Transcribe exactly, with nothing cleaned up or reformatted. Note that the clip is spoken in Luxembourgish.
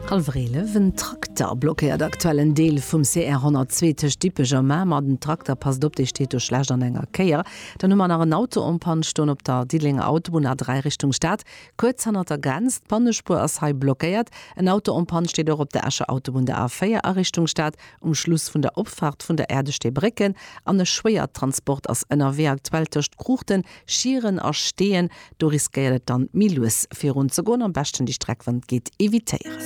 Hallwer eelef. En Trakter blockéiert aktuell en Deel vum C R honnertzwee tëscht Dippech a Mamer. Den Trakter, passt op, dee steet do schlecht an enger Kéier. Dann hu mer nach en Auto en panne stoen op der Diddelenger Autobunn A dräi Richtung Stad, kuerz hannert der Grenz. D'Pannespuer ass hei blockéiert. En Auto en panne steet och op der Escher Autobunn, der A véier a Richtung Stad, um Schluss vun der Opfaart vun der Äerdesteebrécken. An e Schwéiertransport ass ënnerwee aktuell tëscht Kruuchten, Schieren a Steeën. Do riskéiert et dann méi lues virun ze goen. Am beschten déi Streck, wann et geet, evitéieren.